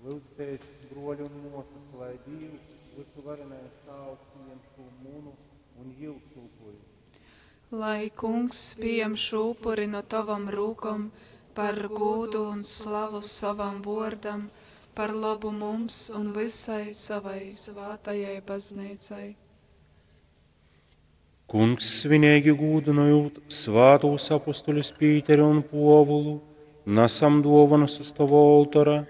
Lyudzitēs, bruoļi un muosys, lai Dīvs, vysuvarenais Tāvs, pījem šū munu un jiusu upuri. Lai Kungs pījem šū upuri no tovom rūkom par gūdu un slavu sovam vuordam, par lobu mums un vysai savai svātajai bazneicai. Kungs, svineigi gūdynojūt svātūs apustuļus Pīteri un Puovulu, nasam duovanas uz tova oltora,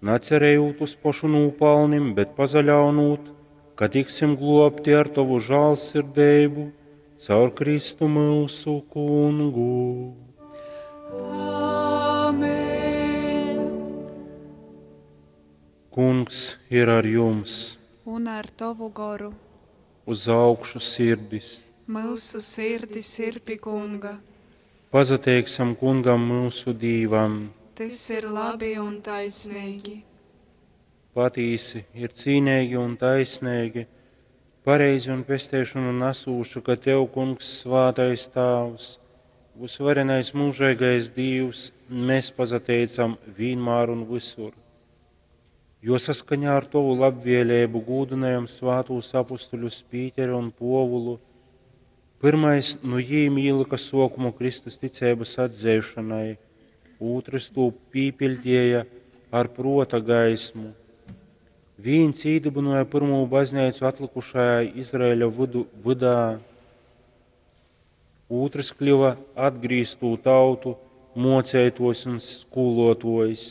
nacerējūt uz pošu nūpalnim, bet pazaļaunūt, ka tiksim globti ar tovu žālsirdeibu caur Kristu myusu Kungu. Āmen! Kungs ir ar jums! Un ar tovu goru. Uz augšu sirdis! Myusu sirdis ir pi Kunga. Pazateiksim Kungam myusu Dīvam! Tys ir labi un taisnīgi. Patīsi, ir cīneigi un taisneigi, pareizi un pesteišonu nasūši, ka Tev, Kungs, svātais Tāvs, vysvarenais mūžeigais Dīvs, mēs pazateicam vīnmār un vysur. Jo saskaņā ar Tovu labvēlību gūdynojam svātūs apustuļus Pīteri un Puovulu, pirmais nu jīm ielika sokumu Kristus ticeibas atzeišanai, ūtrs tū pīpiļdēja ar prota gaismu. Vīns īdibināja pirmo baznīcu atlikušajā Izraēļa vydā, ūtrs kļuva atgrīztū tautu mocētojs un skolotojs.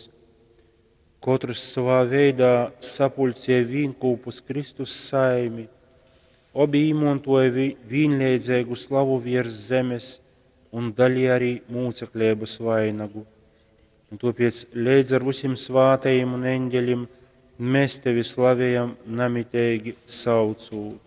Kotrs savā veidā sapuļcēja vīnkūpus Kristus saimi, obi īmontoja vīnleidzīgu slavu virs zemes un daļai arī mūceklības vainagu. Un tāpēc leidz ar visiem svātajiem un eņģeļiem mēs tevi slavējam namiteigi saucūt.